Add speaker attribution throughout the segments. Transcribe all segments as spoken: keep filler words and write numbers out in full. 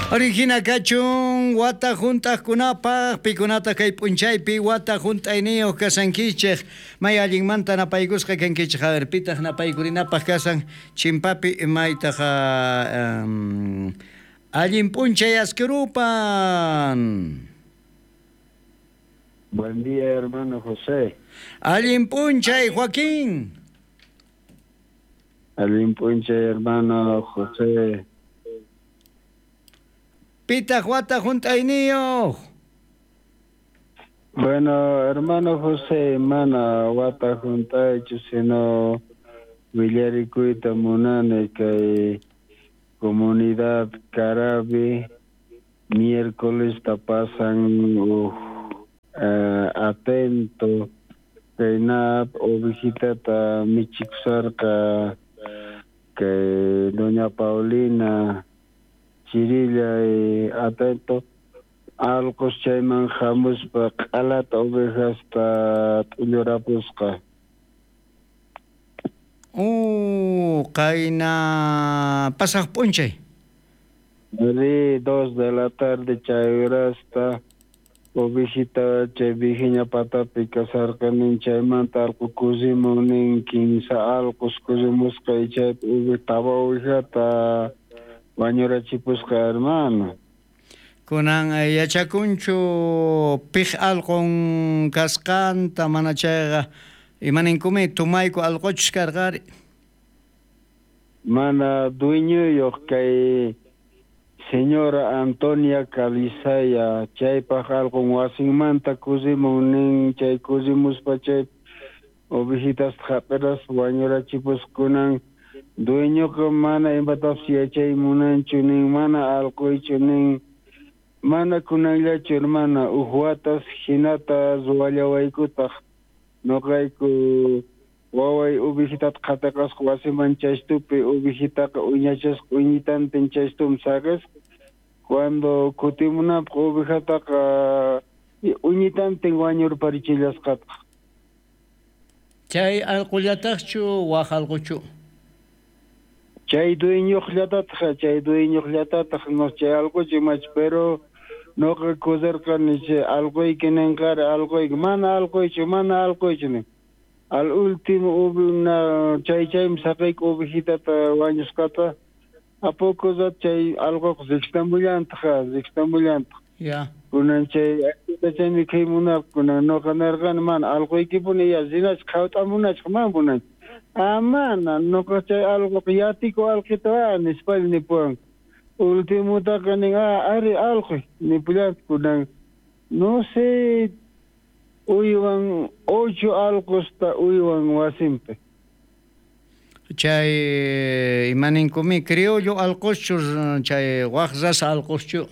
Speaker 1: Origina kachun wata junt'aqkunapaq pikunata kay p'unchaypi wata junt'ayniyuq kasankichej may allinmanta napaykusqa kankichej. A ver, pitaq napaykurinapaq kasan chimpapi maytaq um, allin p'unchay askirupan.
Speaker 2: Buen día, hermano José.
Speaker 1: Allin p'unchay, Joaquín.
Speaker 2: Allin p'unchay, hermano José.
Speaker 1: Pitaq wata junt'ayniyuq.
Speaker 2: Bueno, hermano José, mana wata junt'aychu, sino willarikuyta munani kay comunidad Carabi miércoles ta pasan uh, uh, atento kay nap ovejitata michikusarqa kay doña Paulina Chirilla y atento alqos chayman hamuspa q'alata ovejasta t'ullurapusqa.
Speaker 1: Uh, qayna pasaq p'unchay.
Speaker 2: Ri dos de la tarde chay horasta ovejita chay vijiña patapi kasarqanin chaymanta alqu kusimun nin kinsa alqos kusimusqa y chaypi uve tawa ovejata wañurachipusqa, hermano.
Speaker 1: Kunan yachakunchu pij alqun kasqanta mana chayqa imaninkumi tumayku alquchus karqari.
Speaker 2: Mana dueñoyuq kay señora Antonia Calizaya chaypaq alqun wasinmanta kusimun nin chay kusimuspa chay ovejitasta hap'iraspa wañurachipusqa. Kunan dueñoqa mana imatapis yachay munanchu nin mana alquychu nin mana kunanllachu, hermana, uj watas hinata ruwallawaykutaq noqayku waway ovejitata qhatiqasqa wasiman chaystupi ovejitaqa uñachasqa uñitantin chaystumi saqisqa. Cuando kutimunapaq ovejataqa uñitantin wañurparichillasqataq.
Speaker 1: Chay alqullataqchu waj alquchu?
Speaker 2: Chay dueñuqllatataq, chay dueñuqllatataq, no chay alquchu imach, pero noqa kusarqani chay alquyki ninqari alquyki, mana alquychu, mana alquychu nin. Al último una chay chaymi saqayku ovejitata wañusqata. A poco rato chay alquqa riqstamullantaq, riqstamullantaq.
Speaker 1: Ya.
Speaker 2: Kunan chay chaymi kaymunapaq kunan noqa narqani mana alquykipuni ya rinachqa qhawt'amunachqa mana munanchu. Ah, mana, noqa chay alquqa yatiku alqita nispalla nipuwan. Ultimutaqa nin, ah, ari alquy nipullantaq kunan. No sé, uywan ocho alqusta uywan wasinpi.
Speaker 1: Chay imaninkumi criollo alquschu chay waj raza alquschu?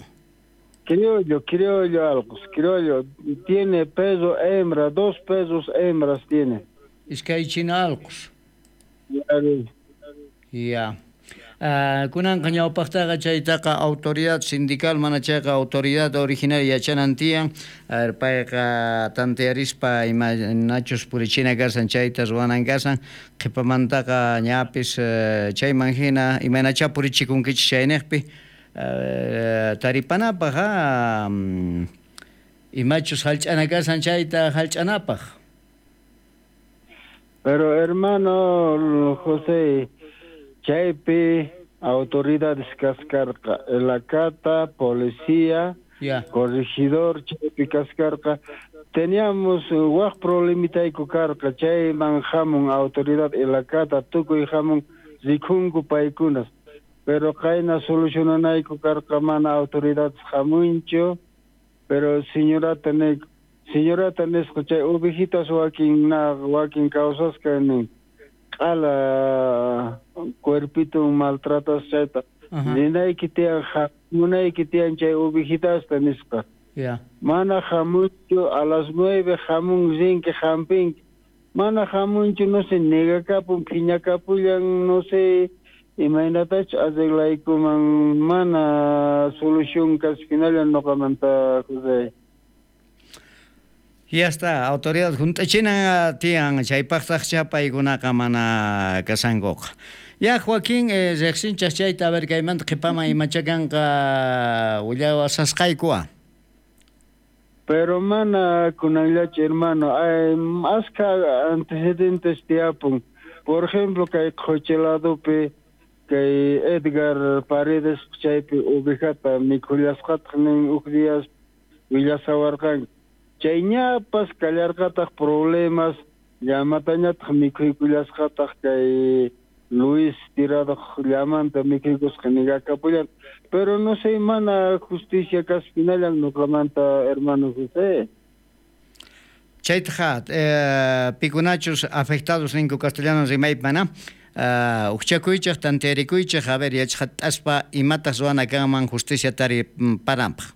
Speaker 2: Criollo, criollo alqus, criollo. Tiene peso hembra, dos pesos hembras tiene.
Speaker 1: Iskay china alqus. Ya. Uh, kunanqa ñawpaqtaqa chaytaqa autoridad sindical mana chayqa autoridad originaria yachanan tiyan. A ver, payqa tantearispa imanachus purichina kasan chayta ruwanan kasan qhipamantaqa ñapis uh, chayman hina imaynachá purichikunkichis chayniqpi uh, taripanapaq um, imachus hallch'ana kasan chayta hallch'anapaq.
Speaker 2: Pero hermano José, chaypi autoridades kaskarqa, elacata, policía,
Speaker 1: yeah.
Speaker 2: Corregidor, chaypi kaskarqa. Teníamos waj problemitayku karqa, chayman hamun autoridad elacata, tukuy hamun rikunku paykunas. Pero qayna solucionanayku karqa mana autoridades hamunchu, pero señorata ne señorata nisqa chay ovejitas wakin na wakin kawsasqa nin q'ala cuerpito maltratas chayta rinayki tiyan hamunayki tiyan chay ovejitasta nisqa.
Speaker 1: Yeah.
Speaker 2: Mana hamunchu a las nueve hamun rinki hampinki mana hamunchu no sé negakapun phiñakapullan no sé imaynatachu arreglaykuman mana solución kashinalla noqamanta José.
Speaker 1: Ya está, autoridad junt'achina tiyan chaypaqtaq chapaykunaqa mana kasankuqa. Ya Joaquín, eh, riqsinchaq chayta, a ver kaymanta qhipaman imacha kanqa willawasasqaykuwa.
Speaker 2: Pero mana kunanllachu, hermano, hay aska antecedentes tiyapun. Por ejemplo, kay qhochi ladopi kay Edgar Paredes chaypi ovejata mikhullasqataq nin uk días willasawarqanku. Chay ñapas kallarqataq problemas, llamatañataq mikhuykullasqataq kay Luis Tirado llamanta mikhuykusqa nigakapullan. Pero no sé, mana justicia kaspinallan nuqamanta, hermano José.
Speaker 1: Chaytaqa eh, pikunachus afectados ninku castellano rimaypi mana uh, ujchakuychej tantearikuychej, a ver yachaqataspa imataq ruwana kanman justicia tari paranpaq.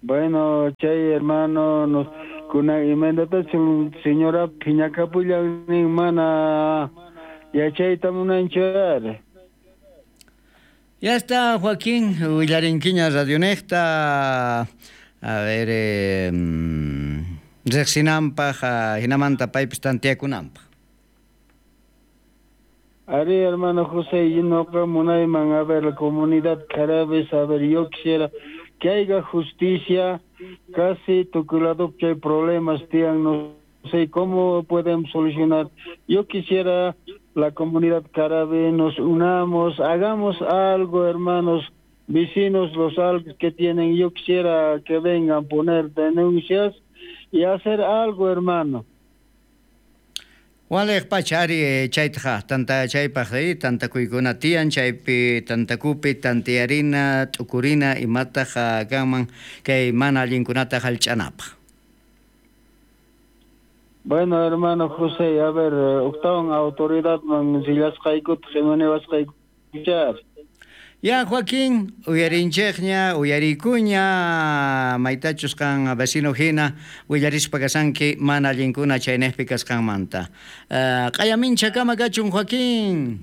Speaker 2: Bueno, chay hermano, nos kunan imaynatachu señora phiñakapullan nin mana yachayta munanchu ari.
Speaker 1: Ya está, Joaquín, willarinkiña radionejta, a ver, eh, riqsinanpaq, hinamanta paypis tanteakunanpaq.
Speaker 2: Ari, hermano José, y noqa munayman, a ver, la comunidad Carabes, a ver, yo quisiera que haya justicia, casi tukuy hay problemas, tiyan, no sé cómo pueden solucionar. Yo quisiera la comunidad Carabe, nos unamos, hagamos algo, hermanos, vecinos, los algo que tienen, yo quisiera que vengan a poner denuncias y hacer algo, hermano.
Speaker 1: Waliq pacha ari chaytaqa tanta chaypaq tantakuykuna tiyan chaypi tantakupi tantiyarina t'ukurina imataq kanman kay mana allinkunata hallch'anapaq.
Speaker 2: Bueno, hermano José, a ver, octavo autoridad man sillasqaykutaq imanewasqaykuchar.
Speaker 1: Ya, Joaquín, uyarinchejña, uyarikuña, maytachus qan vecino hina, willarispa kasanki mana allinkuna chaynejpi kasqanmanta. Uh, q'ayamincha kama kachun, Joaquín.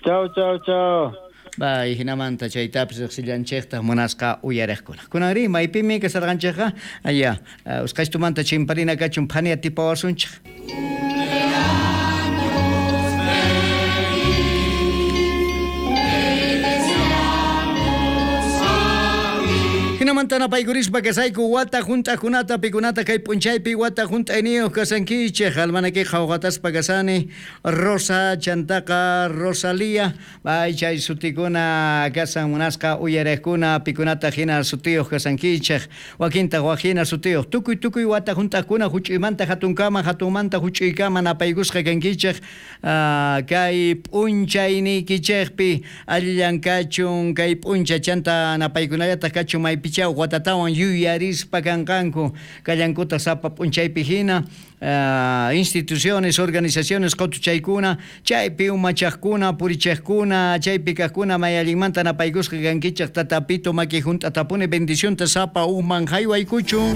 Speaker 2: Chao, chao, chao.
Speaker 1: Bay, hinamanta chaytapis riqsillanchejta munasqa uyariqkuna. Kunanri, maypimi kasarqanchejqa? Aya, uh, usqhaytumanta chimparina kachun phania tipawasunchej. Hinamanta napaykurispa kasayku wata hunt'akunata pikunata kay p'unchaypi wata hunt'ayniyuq kasankichej almanaki qhawqataspa kasani Rosa chantaqa Rosalía bay chay sutikuna kasan munasqa uyariqkuna pikunata hina sutiyuq kasankichej wakintaq wak hina sutiyuq tukuy tukuy wata hunt'aqkuna huch'uymanta hatunkama hatunmanta huch'uykama napaykusqa kankichej uh, kay p'unchayniykichejpi allillan kachun kay p'uncha chanta napaykunallataq kachun maypi watatawan yuyarispa kanqanku kallankuta sapa p'unchaypi hina uh, instituciones, organizaciones qotuchaykuna chaypi umachaqkuna purichaqkuna chaypi kaqkuna may allinmanta napaykusqa kankichaq tatapito maki hunt'atapuni bendicionta sapa ujman haywaykuchun.